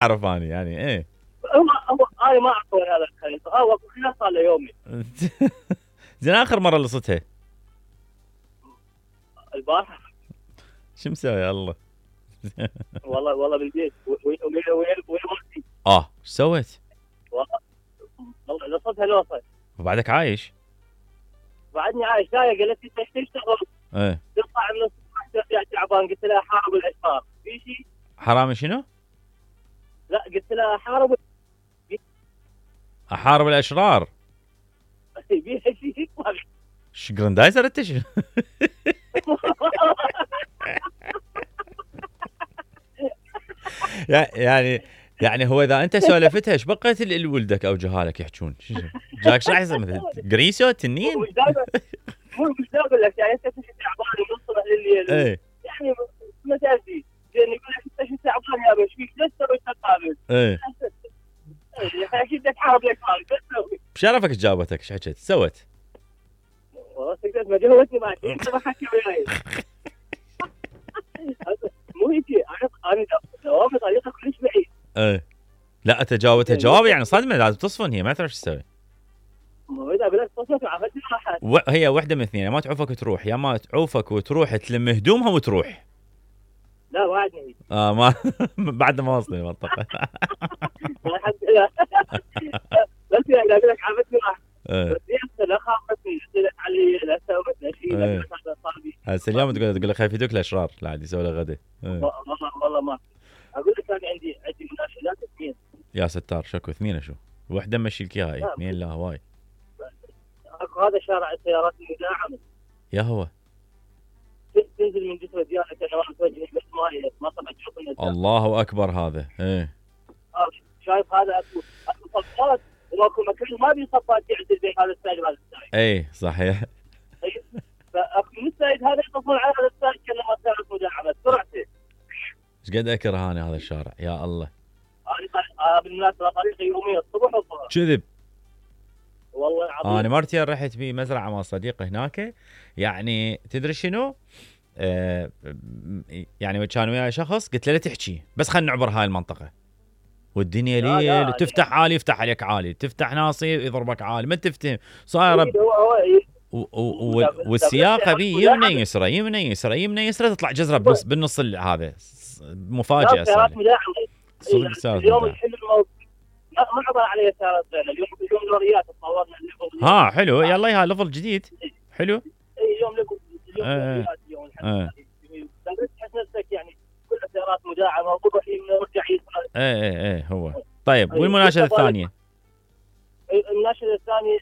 اعرف اني يعني ايه. هو انا ما اعطوني هذا الخريطه، هو خلاص صار له يومي. زين اخر مره لصتها البارحه. شو مسوي يا الله؟ والله بالبيت وين مرتي. ايش سويت؟ والله لصتها لوصه. وبعدك عايش؟ بعدني عايش. لا قالت لي تشتغل. ايه تطلع من الصبح تعبان. قلت لها حارب الاشرار في شيء. حرامي شنو؟ لا قلت لها احارب الاشرار. في شيء. شجرندايزر انت شنو؟ يعني هو اذا انت سولفتها ايش بقيت لولدك او جهالك يحجون؟ جاك شو احسن مثل جريسو تنين؟ مش دائما اقول لك يعني انت تجي تعبان ونوصل لليل. ايه يعني مساجي زين يقول لك انت شو تعبان يا بش فيك ليش تسوي تقابل؟ ايه اكيد تحارب لك مالك تسوي. بشرفك جاوبتك ايش حكيت؟ سوت؟ والله سكت ما جاوبتني ما انت ما حكي وياي. مو هيك انا جوابي طريقه كلش بعيد. ايه لا تجاوبتها جواب يعني صدمه لازم تصفن هي ما تعرف ايش تسوي. مو اذا بلشت تصفن عرفت راحت. هي واحده من اثنين، ما تعوفك وتروح يا ما تعوفك وتروح تلم هدومها وتروح. لا وعدني. ما بعد ما وصلني المنطقه. بس يعني اقول لك عرفتني راحت. ايه بس لا خافتني قلت لك علي لا سويت شيء لا هذا صاحبي. هسه اليوم تقول لك خايف يدوك الاشرار لا عاد يسوي له غدا. والله ما اقول لك انا عندي مناشدات اثنين. يا ستار شكو اثنين شو؟ وحده مشي لك اياها اثنين لا هواي. اكو هذا شارع السيارات المدعمه. يا هو تنزل من جسر ديانه كان واحد وجهي بس ما طلعت تشوف الله اكبر هذا ايه. شايف هذا اكو صفات واكو مكان ما بي صفات يعدل بين هذا السائق وهذا السائق. ايه صحيح. فاكو السائق هذا يطفون على هذا السائق كلمه سيارات مدعمه بسرعته. ايش قد اكره انا هذا الشارع يا الله. بالمناسبه طريقي يوميا الصبح والظهر. كذب والله العظيم. انا مرتين رحت بمزرعه مع صديقي هناك، يعني تدري شنو؟ يعني كان وياي شخص قلت له لا تحكي بس خلينا نعبر هاي المنطقه والدنيا ليل تفتح عالي يفتح عليك عالي، تفتح ناصي يضربك عالي ما تفتهم صايره. والسياقه بي يمنى يسرى يمنى يسرى يمنى يسرى تطلع جزره بالنص هذا مفاجاه صار. اليوم الحلو ما عبر عليه سيارات اليوم لوريات تصورنا الليفل. ها حلو يلا يا ليفل جديد حلو. اي اليوم لوريات اليوم الحمد لله. تحس نفسك يعني كل السيارات مداعمه وضبح يمنى ورجع يسرى. ايه هو. طيب والمناشده الثانيه؟ المناشده الثانيه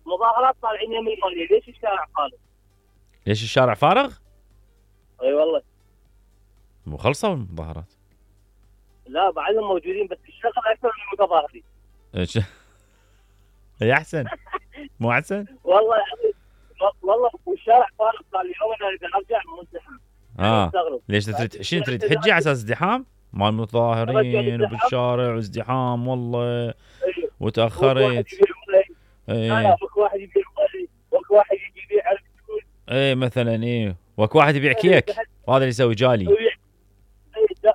مظاهرات طالعين يمين يمين. ليش الشارع فارغ؟ ليش الشارع فارغ؟ اي والله مو خلصوا المظاهرات. لا بعدهم موجودين بس الشغل اكثر من المتظاهرين. ايش؟ هي احسن مو احسن؟ والله والشارع فارغ صار لي يوم انا اذا ارجع مزدحم. ليش تريد حجي على اساس ازدحام؟ مال متظاهرين وبالشارع وازدحام والله وتاخرت. لا اكو واحد يبيع مالي واكو واحد يجي يبيع على الفلوس. ايه مثلا ايه واكو واحد يبيع كيك وهذا اللي يسوي جالي.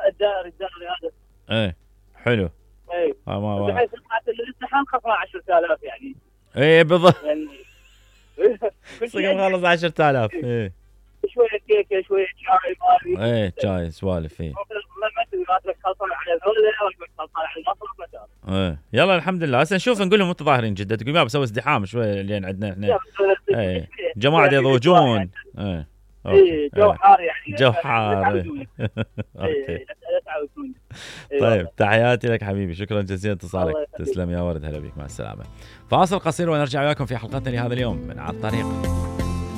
الدائري هذا. ايه حلو. ايه بحيث سمعت الازدحام خسران 10,000 يعني. ايه بالضبط يعني صقم خلص 10,000. ايه شويه كيكه شويه شاي مالي. ايه شاي سوالف ايه. ما ترك خلصان على الهولة ولا خلصان على المصرف مثلا. ايه يلا الحمد لله. هسه نشوف نقول لهم متظاهرين جده تقول ما بسوي ازدحام شويه لين عندنا احنا. ايه جماعه يضوجون. ايه جو حار يعني. جو حار. اوكي طيب تحياتي لك حبيبي شكرا جزيلا اتصالك. تسلم يا ورد هلا بك مع السلامه. فاصل قصير ونرجع وياكم في حلقتنا لهذا اليوم من على الطريق.